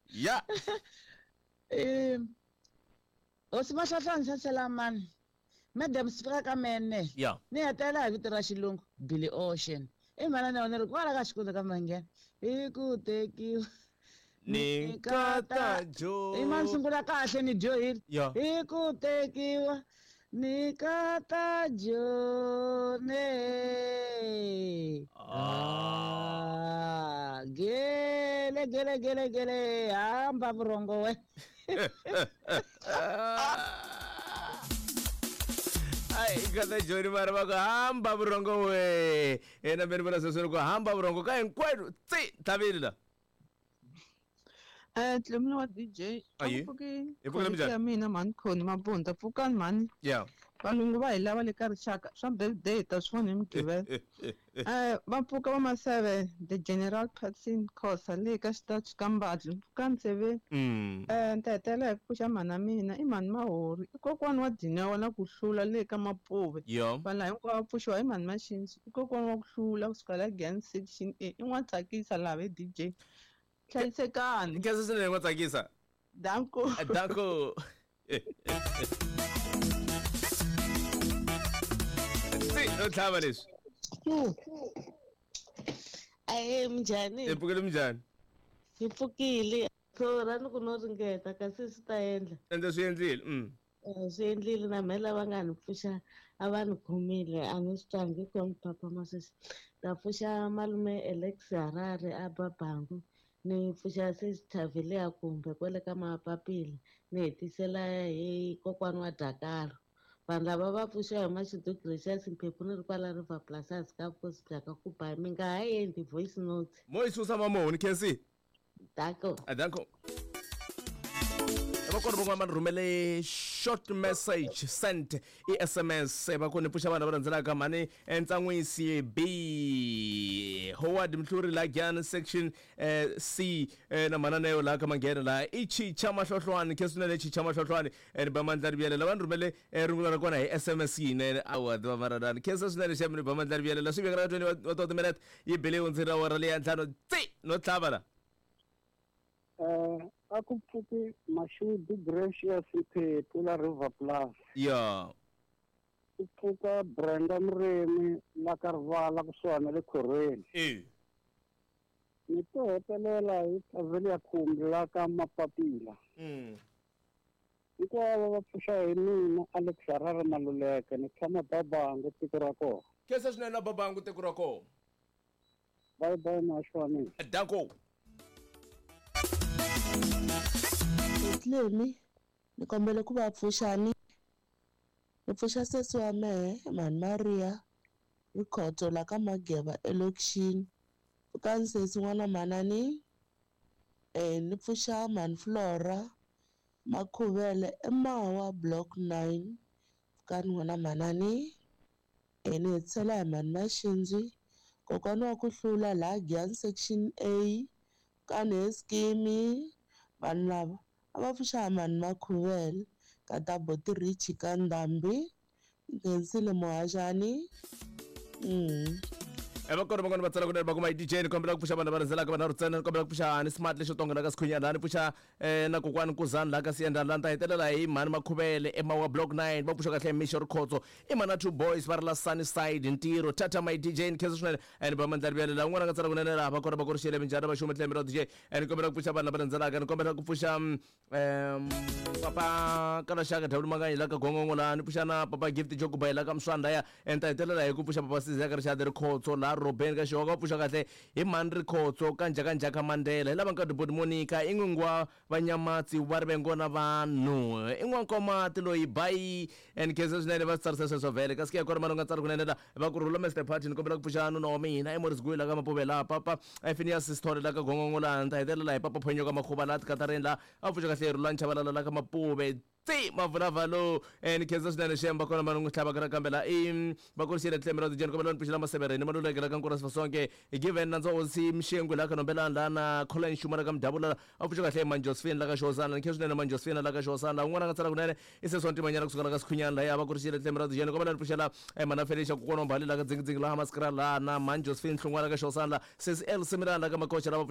Ya. Hosi Mahlahlani Saselamani. Madam sifika ka mene. Ya. Ni hetelela hi vito ra xilungu Billy Ocean. I mhana na wena ri kwala ka xikundza ka Manghena. Hi ku tekiwa Ni nkata jo. I mani sungula kahle ni dyohile. Ya. Hi ku tekiwa ni kata jone. Ah. Ah, gele gele gele gele hamba vurhongo we. Ai, nkata joni mara va ku hamba vurhongo we. Yena me ni vona sweswo ni ku hamba vurhongo ka hinkwenu tsi tlhavile la. Dlamini wa DJ a Ayi. ku pfuki Hi pfukile minjhani? ya mina mhani Khoni Mabunda pfukani mhani Yeah. Valungu va hi lava le ka rixaka swa birthday hi ta swi vona hi Mugqivela. Va pfuka va Maseve the General Patson Khosa le ka xitachi ka Mbadlu pfukani nseveni. Ni ta hetelela hi ku pfuxa mhana mina i mhani Mahori i kokwani wa Dineo na ku hlula le ka Mapuve. Yo. Vanhu lava hinkwavo va pfuxiwa hi mhani Mashinji i kokwani wa ku hlula kusuka la Giyani section A i n'watsakisa laha ve DJ. Hlayisekani. Nkhensa swinene n'watsakisa. Danko. Danko. Tsi no tlhava leswi. Ahee, minjhani? Hi pfukile minjhani? Hi pfukile. Ra ni ku no ringeta kasi swi ta endla. Ende swi endlile. Swi endlile na mehe lava nga ni pfuxa a va ni khomile a ni swi twangi ku ni phaphama sweswi. Ta pfuxa malume Alex Harare a Babangu ni pfuxa sesi Thavileya kumbe kwale ka Mapapila ni hetisela hi kokwani wa Dakaro. Vanhu lava va pfuxiwa hi Mashudu Gracious Mphephu ni ri kwala River Plus ka vukosi bya ka Kubayi mi nga ha endli voice note. Mo yi susa mamohoni Khensi. Danko. Danko. Va kona van'wana va ni rhumele short message sent i SMS va ku ni pfuxa vanhu lava landzelaka mhani Ntsan'wisi B Howard Mhluri la Giyani section C na mhana Neo laha ka Manghena laha i Chicha Mahlohlwani khe swinene Chicha Mahlohlwani ni ba mandla riviyela lava ni rhumele rungula ra kona hi SMS yinene awa tiva maradani khensa swinene xem ni ba mandla riviyela swi vekela ka 20 wa timinete yi bele hundzi ra wora leya ntlhanu tsi no tlhava la. A ku pfuki Mashudu Gracious Mphephu la River Plus. Ya. Ku pfuka Brenda Murimi la ka Rivala kusuhani na le Khorweni. Ni to hetelela hi Thavelia Khumbi la ka Mapapila. Hinkwavo va pfuxa hi mina Alex Harare Maluleke ni tshama Babangu tiko ra kona. Khensa swinene la Babangu tiko ra kona. Bye bye muhaxi wa mina. Danko. Tlemi ni kombela ku va pfuxani ni pfuxa sesi wa mehe mhani Maria Rikhotso la ka Mageva elokixini pfukani sesi n'wana mhanani ni pfuxa mhani Flora Makhuvele eMawa block 9 pfukani n'wana mhanani ni hetisela hi mhani Mashinzi kokwani wa ku hlula laha Giyani section A pfukani he skimi vanhu lava a va pfuxa mhani Makhuvele ka ta Boti Rich ka Ndhambi Nghensile Muhaxani. Va kona van'wana va tsala kunene va kuma hi DJ ni kombela ku pfuxa vanhu lava landzelaka vanharhu ntsena ni kombela ku pfuxa ni smart lexo tonga la ka Sikhunyana laha ni pfuxa na kokwani Nkuzani laha ka Siyendani laha ni ta hetelela hi mhani Makhuvele eMawa block 9 va pfuxa kahle Mixo Rikhotso i mhana two boys va ri la Sunnyside ntirho tata my DJ ni khensa swinene ni ba mandla riviyele laha un'wana a nga tsala kunene laha va kona va korixele minjhani va xuma tlhelo ra DJ ni kombela ku pfuxa vanhu lava landzelaka ni kombela ku pfuxa papa Kalaxaka Dawudi Manganyi la ka Gongongo laha ni pfuxa na papa Gift Jokubayi la ka Mswanda ya ni ta hetelela hi ku pfuxa papa Sizi ya ka Rixadi Rikhotso laha Robeni ka Xihoka va pfuxa kahle hi mhani Rikhotso ka Njhakanjhaka Mandela hi lava nka Diboti Monica i n'wingi wa Vanyamatsi va ri vengona vanhu i n'wankomati loyi bayi and khensa swinene va swi tsarisa sweswo vhele kasi ke ya kona mani u nga tsari kunene la va ku rhula Mr Party ni kombela ku pfuxa nuna wa mina i Morris Guyi la ka Mapuve laha papa Phineas Sithole la ka Gongongo laha ni ta hetelela hi papa Phonyo ka Makhuva laha Tikatareni laha a pfuxa kahle Rhulani Chabalala la ka Mapuve tsi mavulavha lowu ni khensa swinene xem va kona va n'wi tlhavaka nakambe la i va kurisile tlhembe ra tijeni kombela ni pfuxela masevereni maluleke la ka nkura sifasonke given nandza hosi mxengwe la ka nombelani la na Colin Xuma la ka Mdavula a pfuxa kahle man Josephine la ka Xosana ni khensa swinene man Josephine la ka Xosana la un'wana a nga tsala kunene i sesi wa ntimanyana kusuka la ka Sikhunyana la ya va kurisile tlhembe ra tijeni kombela ni pfuxela mana Felicia kokwana wa Mbali la ka Dzingidzingi la Hamaskra la na man Josephine Hlongwana la ka Xosana la sesi El Similana la ka Makocha la va pfuxa.